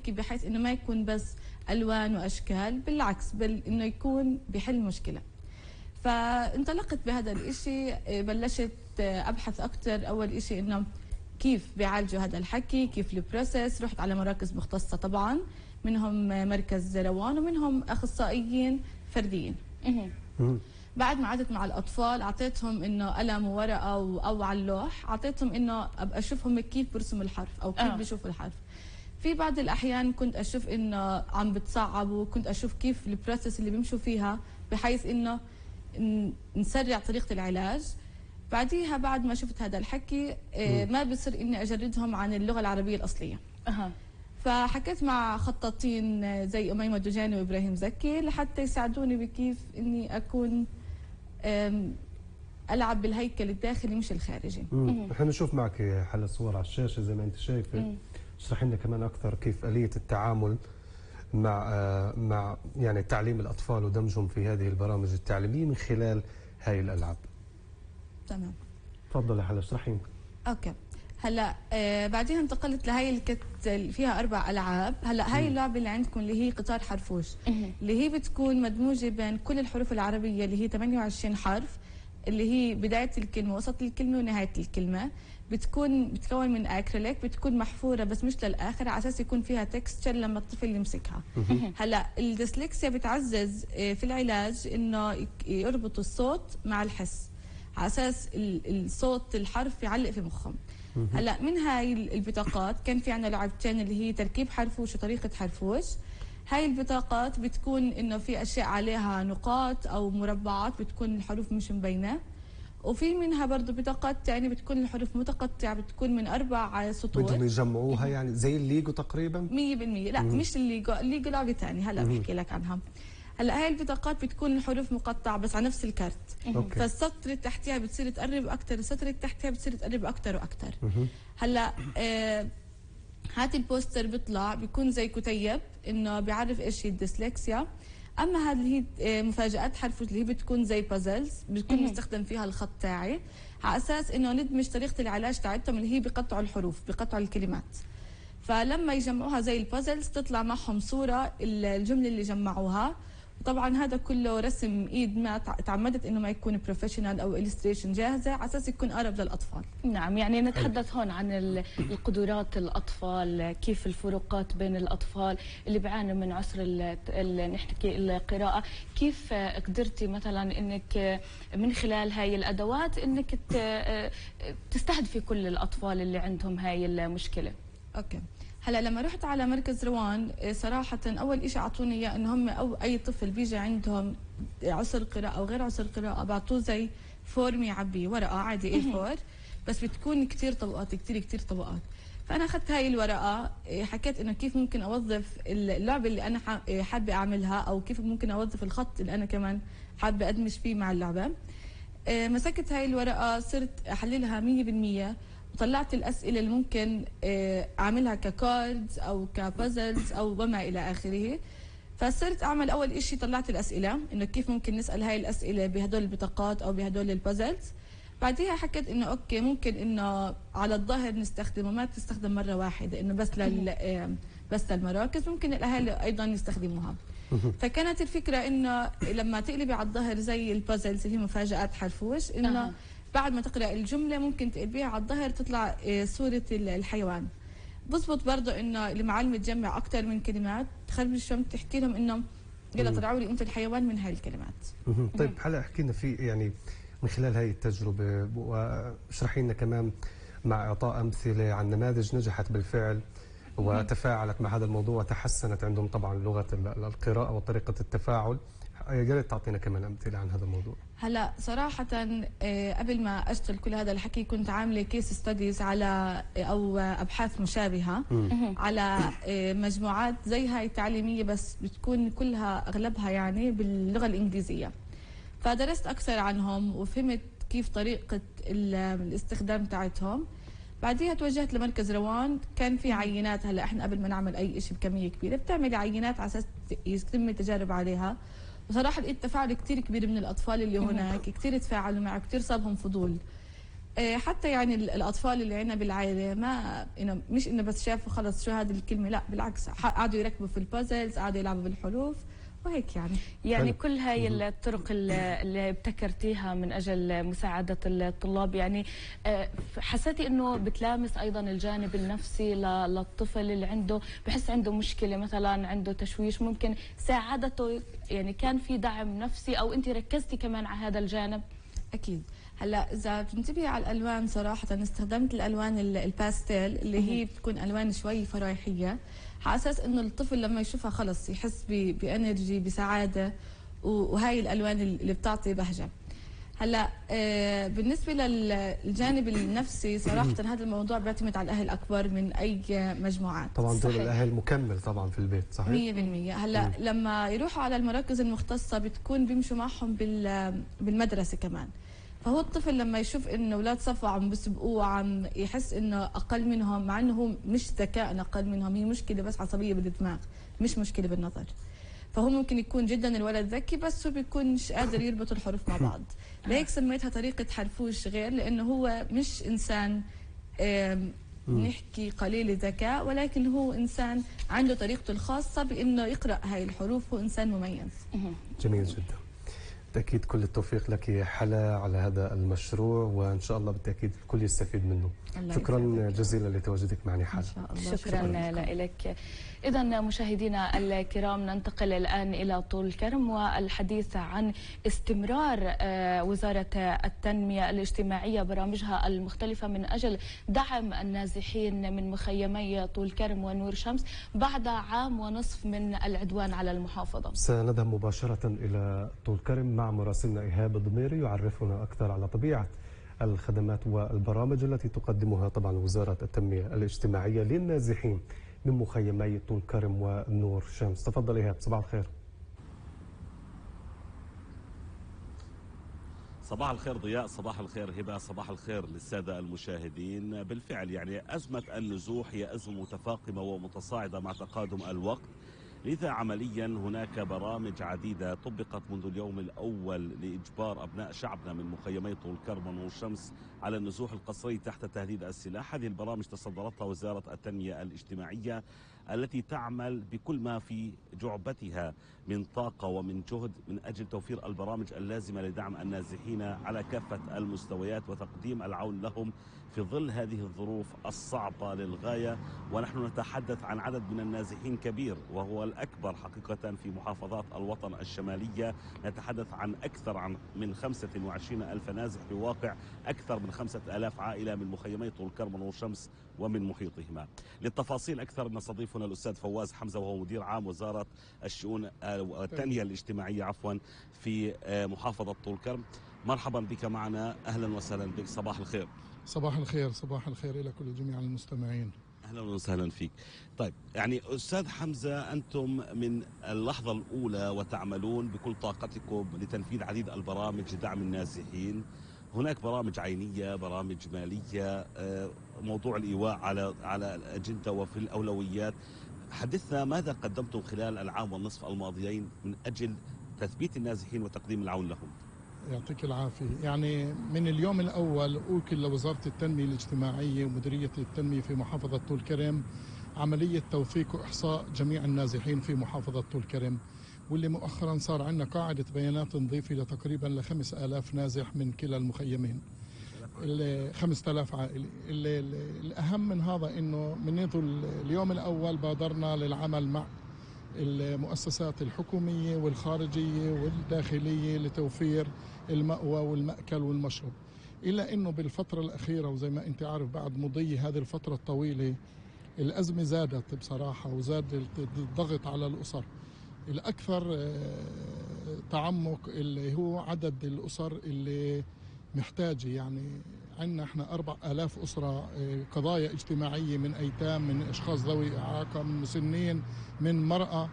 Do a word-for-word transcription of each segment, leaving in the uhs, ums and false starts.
هيك بحيث انه ما يكون بس الوان واشكال، بالعكس بل انه يكون بحل مشكله. فانطلقت بهذا الاشي، بلشت ابحث اكثر. اول اشي انه كيف بيعالجوا هذا الحكي، كيف البروسيس. رحت على مراكز مختصه طبعا، منهم مركز روان ومنهم اخصائيين فرديين. بعد ما قعدت مع الاطفال اعطيتهم انه قلم وورقه او على اللوح، اعطيتهم انه ابقى اشوفهم كيف برسموا الحرف او كيف آه. بيشوفوا الحرف. في بعض الاحيان كنت اشوف انه عم بتصعبوا، كنت اشوف كيف البروسيس اللي بيمشوا فيها بحيث انه نسرع طريقه العلاج. بعديها بعد ما شفت هذا الحكي ما بصير اني اجردهم عن اللغه العربيه الاصليه. أه. فحكيت مع خطاطين زي أميمة دجاني وإبراهيم زكي لحتى يساعدوني بكيف إني أكون ألعب بالهيكل الداخلي مش الخارجي. نحن نشوف معك حل الصور على الشاشة زي ما أنت شايفة. اشرحي لنا كمان أكثر كيف آلية التعامل مع مع يعني تعليم الأطفال ودمجهم في هذه البرامج التعليمية من خلال هاي الألعاب. تمام. تفضلي حلا اشرحي. أوكي. هلا آه بعدين انتقلت لهي الكت اللي فيها اربع العاب. هلا هاي اللعبه اللي عندكم اللي هي قطار حرفوش، اللي هي بتكون مدموجه بين كل الحروف العربيه اللي هي ثمانية وعشرين حرف، اللي هي بدايه الكلمه وسط الكلمه ونهايه الكلمه. بتكون بتكون من اكريليك، بتكون محفوره بس مش للاخر على اساس يكون فيها تكستشر لما الطفل يمسكها. هلا الديسلكسيا بتعزز في العلاج انه يربطوا الصوت مع الحس على اساس الصوت الحرف يعلق في مخهم. هلا من هاي البطاقات كان في عنا لعبتين اللي هي تركيب حرفوش وطريقه حرفوش. هاي البطاقات بتكون انه في اشياء عليها نقاط او مربعات بتكون الحروف مش مبينه، وفي منها برضه بطاقات ثانيه بتكون الحروف متقطعه بتكون من اربع سطور. بدهم يجمعوها يعني زي الليجو تقريبا؟ مية بالمية. لا مم. مش الليجو، الليجو لعبه ثانيه هلا بحكي لك عنها. هلا هاي البطاقات بتكون الحروف مقطعه بس على نفس الكارت. أوكي. فالسطر اللي تحتها بتصير تقرب اكثر، السطر اللي تحتها بتصير تقرب اكثر واكثر. هلا آه هات البوستر بيطلع بيكون زي كتيب انه بيعرف ايش هي الديسلكسيا. اما هذه اللي هي مفاجات حرف اللي هي بتكون زي بازلز، بتكون مستخدم فيها الخط تاعي على اساس انه ندمج طريقه العلاج تاعتهم اللي هي بقطعوا الحروف بقطعوا الكلمات. فلما يجمعوها زي البازلز تطلع معهم صوره الجمله اللي جمعوها. طبعا هذا كله رسم ايد، ما تعمدت انه ما يكون بروفيشنال او إليستريشن جاهزه على اساس يكون اقرب للاطفال. نعم، يعني نتحدث هون عن القدرات الاطفال، كيف الفروقات بين الاطفال اللي بيعانوا من عسر نحكي القراءه، كيف قدرتي مثلا انك من خلال هاي الادوات انك تستهدفي كل الاطفال اللي عندهم هاي المشكله؟ اوكي. هلا لما رحت على مركز روان صراحه اول شيء اعطوني اياه انه هم او اي طفل بيجي عندهم عسر قراءه او غير عسر قراءه بعطوه زي فورم يعبيه، ورقه عادي اي فور بس بتكون كثير طبقات كثير كثير طبقات. فانا اخذت هاي الورقه، حكيت انه كيف ممكن اوظف اللعبه اللي انا حابه اعملها او كيف ممكن اوظف الخط اللي انا كمان حابه ادمج فيه مع اللعبه. مسكت هاي الورقه صرت احللها مية بالمية وطلعت الاسئله اللي ممكن اعملها ككاردز او كبازلز او وما الى اخره. فصرت اعمل اول شيء طلعت الاسئله انه كيف ممكن نسال هاي الاسئله بهدول البطاقات او بهدول البازلز. بعديها حكيت انه اوكي ممكن انه على الظهر نستخدمه، ما تستخدم مره واحده انه بس لل بس للمراكز، ممكن الاهالي ايضا يستخدموها. فكانت الفكره انه لما تقلبي على الظهر زي البازلز اللي هي مفاجات حرفوش، انه بعد ما تقرأ الجملة ممكن تقلبيها على الظهر تطلع صورة الحيوان. بزبط برضه انه المعلمة تجمع أكثر من كلمات، تخرج شو تحكي لهم انه يلا طلعوا لي انتم الحيوان من هاي الكلمات. طيب هلا احكي لنا في يعني من خلال هاي التجربة واشرحي لنا كمان مع إعطاء أمثلة عن نماذج نجحت بالفعل وتفاعلت مع هذا الموضوع وتحسنت عندهم طبعا لغة القراءة وطريقة التفاعل. يا ريت تعطينا كمان امثله عن هذا الموضوع. هلا صراحه قبل ما اشتغل كل هذا الحكي كنت عامله كيس ستاديز على او ابحاث مشابهه م. على مجموعات زي هاي تعليميه بس بتكون كلها اغلبها يعني باللغه الانجليزيه. فدرست اكثر عنهم وفهمت كيف طريقه الاستخدام تاعتهم. بعديها توجهت لمركز روان، كان في عينات. هلا احنا قبل ما نعمل اي شيء بكميه كبيره بتعملي عينات على اساس يتم التجارب عليها. وصراحه لقيت تفاعل كثير كبير من الاطفال اللي هناك، كثير تفاعلوا معه، كثير صابهم فضول. آه، حتى يعني ال- الاطفال اللي عندنا بالعائله ما انه مش انه بس شافوا خلص شو هذه الكلمه، لا بالعكس ح- قعدوا يركبوا في البازلز، قعدوا يلعبوا بالحروف وهيك يعني. يعني حلو. كل هاي الطرق اللي اللي ابتكرتيها من أجل مساعدة الطلاب، يعني آه، حسيتي أنه بتلامس أيضا الجانب النفسي ل- للطفل اللي عنده بحس عنده مشكلة، مثلا عنده تشويش، ممكن ساعدته، يعني كان في دعم نفسي أو أنت ركزتي كمان على هذا الجانب؟ اكيد. هلا اذا بتنتبهي على الالوان صراحه استخدمت الالوان ال- الباستيل اللي هي بتكون الوان شوي فرايحيه، على اساس انه الطفل لما يشوفها خلص يحس ب- بانرجي بسعاده، و- وهاي الالوان اللي بتعطي بهجه. هلا آه، بالنسبه للجانب النفسي صراحه هذا الموضوع بيعتمد على الاهل اكبر من اي مجموعات. طبعا دور صحيح. الاهل مكمل طبعا في البيت، صحيح. مية بالمية. هلا لما يروحوا على المراكز المختصة بتكون بيمشوا معهم بال- بالمدرسة كمان، فهو الطفل لما يشوف انه اولاد صفه عم بسبقوه، عم يحس انه اقل منهم، مع انه هو مش ذكاء اقل منهم، هي مشكلة بس عصبية بالدماغ مش مشكلة بالنظر. فهو ممكن يكون جدا الولد ذكي بس هو بيكونش قادر يربط الحروف مع بعض. لهيك سميتها طريقة حرفوش غير، لانه هو مش انسان آم، نحكي قليل الذكاء، ولكن هو انسان عنده طريقته الخاصة بانه يقرأ هاي الحروف، هو انسان مميز. جميل جدا. بالتأكيد كل التوفيق لك يا حلا على هذا المشروع، وإن شاء الله بالتأكيد الكل يستفيد منه. الله شكرا يسعدك. جزيلا لتواجدك معنا ان حلا. شاء الله. شكرا لك. إذا مشاهدينا الكرام ننتقل الآن إلى طول كرم والحديث عن استمرار آه، وزارة التنمية الاجتماعية برامجها المختلفة من أجل دعم النازحين من مخيمي طول كرم ونور شمس بعد عام ونصف من العدوان على المحافظة. سنذهب مباشرة إلى طول كرم مع مراسلنا إيهاب الضميري يعرفنا أكثر على طبيعة الخدمات والبرامج التي تقدمها طبعا وزارة التنمية الاجتماعية للنازحين من مخيمي طول كرم ونور شمس. تفضل إيهاب، صباح الخير. صباح الخير ضياء، صباح الخير هبة، صباح الخير للسادة المشاهدين. بالفعل يعني أزمة النزوح هي أزمة متفاقمة ومتصاعدة مع تقادم الوقت، لذا عمليا هناك برامج عديدة طبقت منذ اليوم الأول لإجبار أبناء شعبنا من مخيمي طول كرم ونور شمس على النزوح القسري تحت تهديد السلاح. هذه البرامج تصدرتها وزارة التنمية الاجتماعية التي تعمل بكل ما في جعبتها من طاقة ومن جهد من أجل توفير البرامج اللازمة لدعم النازحين على كافة المستويات وتقديم العون لهم في ظل هذه الظروف الصعبة للغاية. ونحن نتحدث عن عدد من النازحين كبير وهو الأكبر حقيقة في محافظات الوطن الشمالية، نتحدث عن أكثر عن من خمسة وعشرين ألف نازح بواقع أكثر من خمسة آلاف عائلة من مخيمي طول كرم ونور شمس ومن محيطهما. للتفاصيل أكثر نستضيفنا الأستاذ فواز حمزة وهو مدير عام وزارة الشؤون التنمية الاجتماعية عفوا في محافظة طول كرم. مرحبا بك معنا، أهلا وسهلا بك، صباح الخير. صباح الخير، صباح الخير إلى كل جميع المستمعين. أهلا وسهلا فيك. طيب يعني أستاذ حمزة، أنتم من اللحظة الأولى وتعملون بكل طاقتكم لتنفيذ عديد البرامج لدعم النازحين. هناك برامج عينية، برامج مالية، موضوع الإيواء على على الأجندة وفي الأولويات. حدثنا ماذا قدمتم خلال العام والنصف الماضيين من أجل تثبيت النازحين وتقديم العون لهم؟ يعطيك العافية. يعني من اليوم الأول أوكل لوزارة التنمية الاجتماعية ومديرية التنمية في محافظة طول كرم عملية توثيق وإحصاء جميع النازحين في محافظة طول كرم، واللي مؤخرا صار عندنا قاعدة بيانات نضيفة لتقريبا لخمس آلاف نازح من كلا المخيمين، خمسة آلاف عائلة. الأهم من هذا أنه منذ اليوم الأول بادرنا للعمل مع المؤسسات الحكومية والخارجية والداخلية لتوفير المأوى والمأكل والمشرب، إلا أنه بالفترة الأخيرة وزي ما أنت عارف بعد مضي هذه الفترة الطويلة الأزمة زادت بصراحة، وزاد الضغط على الأسر. الأكثر تعمق اللي هو عدد الأسر اللي محتاجة، يعني عندنا احنا أربع آلاف أسرة قضايا اجتماعية من أيتام، من أشخاص ذوي إعاقة، من مسنين، من مرأة،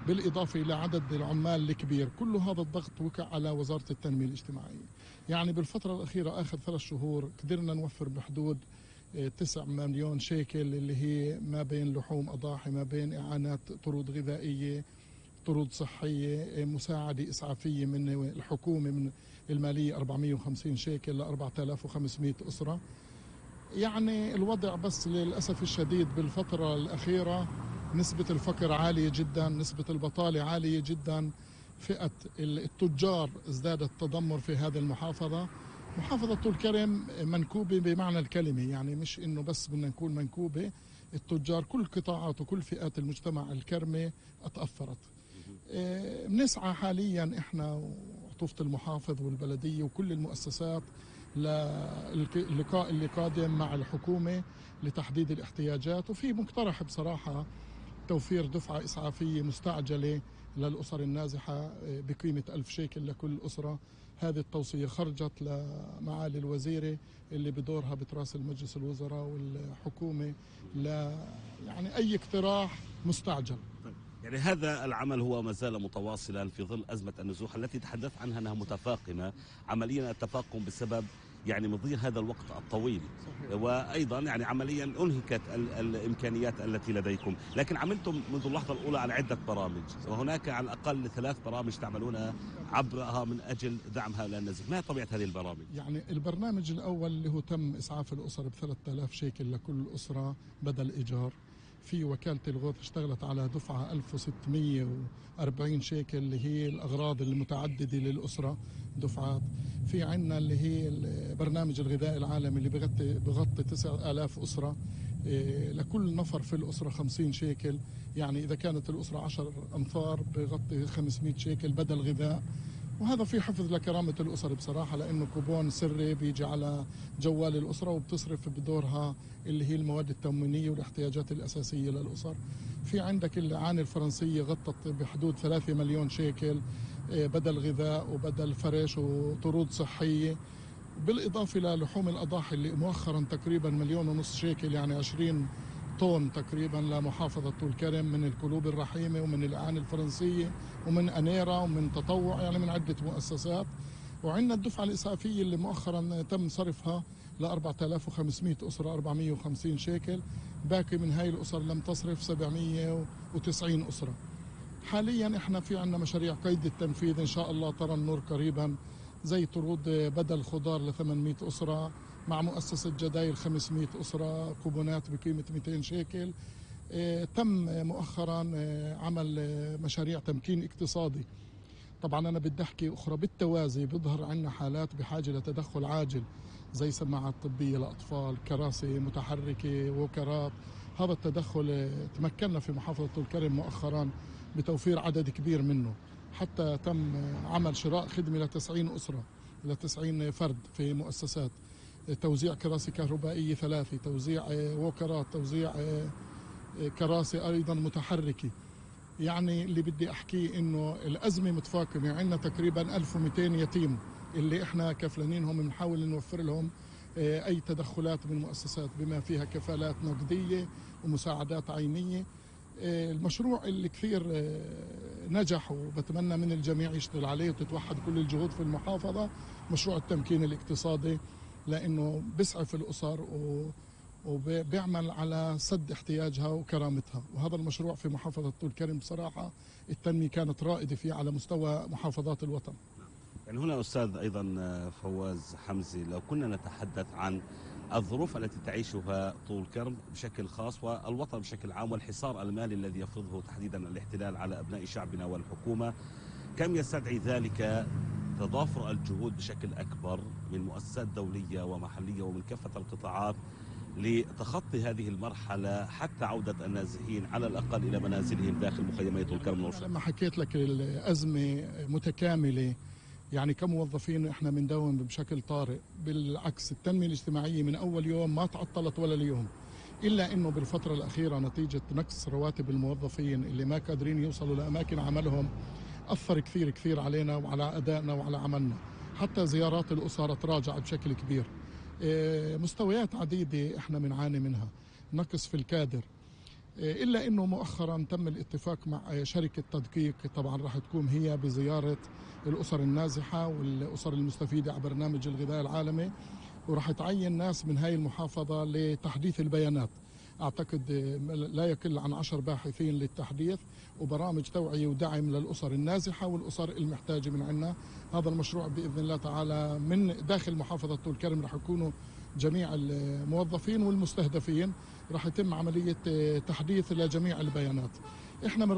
بالإضافة إلى عدد العمال الكبير. كل هذا الضغط وقع على وزارة التنمية الاجتماعية. يعني بالفترة الأخيرة آخر ثلاث شهور قدرنا نوفر بحدود تسعة مليون شيكل، اللي هي ما بين لحوم أضاحي، ما بين إعانات طرود غذائية، طرود صحية، مساعدة إسعافية من الحكومة من المالية أربعمئة وخمسين شيكل ل أربعة آلاف وخمسمئة أسرة. يعني الوضع بس للأسف الشديد بالفترة الأخيرة نسبة الفقر عالية جدا، نسبة البطالة عالية جدا، فئة التجار ازدادت تدمر في هذه المحافظة. محافظة طول كرم منكوبة بمعنى الكلمة، يعني مش إنه بس بدنا نكون منكوبة، التجار كل قطاعات وكل فئات المجتمع الكرمة اتأثرت. بنسعى حاليا إحنا وعطوفة المحافظ والبلدية وكل المؤسسات للقاء اللي قادم مع الحكومة لتحديد الاحتياجات، وفي مقترح بصراحة توفير دفعة إسعافية مستعجلة للأسر النازحة بقيمة ألف شيكل لكل أسرة. هذه التوصية خرجت لمعالي الوزيرة اللي بدورها بتراسل مجلس الوزراء والحكومة ل يعني أي اقتراح مستعجل. يعني هذا العمل هو ما زال متواصلا في ظل أزمة النزوح التي تحدث عنها أنها متفاقمة، عمليا التفاقم بسبب يعني مضي هذا الوقت الطويل. صحيح. وأيضا يعني عمليا أنهكت الإمكانيات التي لديكم، لكن عملتم منذ اللحظة الأولى على عدة برامج، وهناك على الأقل ثلاث برامج تعملون عبرها من أجل دعم هؤلاء النازحين. ما هي طبيعة هذه البرامج؟ يعني البرنامج الأول اللي هو تم إسعاف الأسر ب ثلاثة آلاف شيكل لكل أسرة بدل إيجار. في وكالة الغوث اشتغلت على دفعة ألف وستمئة وأربعين شيكل اللي هي الأغراض المتعددة للأسرة دفعات. في عنا اللي هي برنامج الغذاء العالمي اللي بغطي بغطي تسعة آلاف أسرة، لكل نفر في الأسرة خمسين شيكل، يعني إذا كانت الأسرة عشر أنفار بغطي خمسمئة شيكل بدل غذاء. وهذا في حفظ لكرامة الأسر بصراحة، لأنه كوبون سري بيجي على جوال الأسرة وبتصرف بدورها اللي هي المواد التموينية والاحتياجات الأساسية للأسر. في عندك الإعانة الفرنسية غطت بحدود ثلاثة مليون شيكل بدل غذاء وبدل فرش وطرود صحية، بالإضافة للحوم الأضاحي اللي مؤخرا تقريبا مليون ونص شيكل، يعني عشرين طن تقريبا لمحافظة طول كرم من القلوب الرحيمة ومن الإعانة الفرنسية ومن أنيرا ومن تطوع، يعني من عدة مؤسسات. وعندنا الدفعة الإسعافية اللي مؤخرا تم صرفها ل أربعة آلاف وخمسمئة أسرة أربعمئة وخمسين شيكل، باقي من هاي الأسر لم تصرف سبعمئة وتسعين أسرة. حاليا احنا في عندنا مشاريع قيد التنفيذ إن شاء الله ترى النور قريبا، زي طرود بدل خضار ل ثمانمئة أسرة مع مؤسسة جدايل خمسمئة أسرة، كوبونات بقيمة مئتين شيكل. اه تم مؤخرا اه عمل اه مشاريع تمكين اقتصادي. طبعا أنا بدي أحكي أخرى بالتوازي، بيظهر عندنا حالات بحاجة لتدخل عاجل زي سماعات طبية لأطفال، كراسي متحركة، وكرات. هذا التدخل اه تمكنا في محافظة طول كرم مؤخرا بتوفير عدد كبير منه، حتى تم عمل شراء خدمة لتسعين أسرة لتسعين فرد في مؤسسات، توزيع كراسي كهربائية ثلاثة، توزيع ووكرات، توزيع كراسي أيضا متحركة. يعني اللي بدي أحكيه إنه الأزمة متفاقمة، عندنا تقريبا ألف ومئتين يتيم اللي إحنا كفلانينهم بنحاول نوفر لهم أي تدخلات من المؤسسات بما فيها كفالات نقدية ومساعدات عينية. المشروع اللي كثير نجح وبتمنى من الجميع يشتغل عليه وتتوحد كل الجهود في المحافظة، مشروع التمكين الاقتصادي، لأنه بيسعف الأسر وبيعمل على سد احتياجها وكرامتها. وهذا المشروع في محافظة طول كرم بصراحة التنمية كانت رائدة فيه على مستوى محافظات الوطن. يعني هنا أستاذ أيضا فواز حمزي، لو كنا نتحدث عن الظروف التي تعيشها طول كرم بشكل خاص والوطن بشكل عام، والحصار المالي الذي يفرضه تحديدا الاحتلال على أبناء شعبنا والحكومة، كم يستدعي ذلك تضافر الجهود بشكل أكبر من مؤسسات دولية ومحلية ومن كافة القطاعات لتخطي هذه المرحلة حتى عودة النازحين على الأقل إلى منازلهم داخل مخيمات طول كرم؟ لما حكيت لك الأزمة متكاملة، يعني كموظفين احنا بنداوم بشكل طارئ. بالعكس التنمية الاجتماعية من أول يوم ما تعطلت ولا اليوم، إلا أنه بالفترة الأخيرة نتيجة نقص رواتب الموظفين اللي ما قادرين يوصلوا لأماكن عملهم أثر كثير كثير علينا وعلى أدائنا وعلى عملنا. حتى زيارات الأسر تراجعت بشكل كبير. مستويات عديدة احنا بنعاني منها، نقص في الكادر. إلا أنه مؤخرا تم الاتفاق مع شركة تدقيق، طبعا راح تكون هي بزيارة الأسر النازحة والأسر المستفيدة على برنامج الغذاء العالمي، وراح تعين ناس من هاي المحافظة لتحديث البيانات أعتقد لا يقل عن عشر باحثين للتحديث وبرامج توعية ودعم للأسر النازحة والأسر المحتاجة من عنا. هذا المشروع بإذن الله تعالى من داخل محافظة طول كرم رح يكونوا جميع الموظفين والمستهدفين، رح يتم عملية تحديث لجميع البيانات. إحنا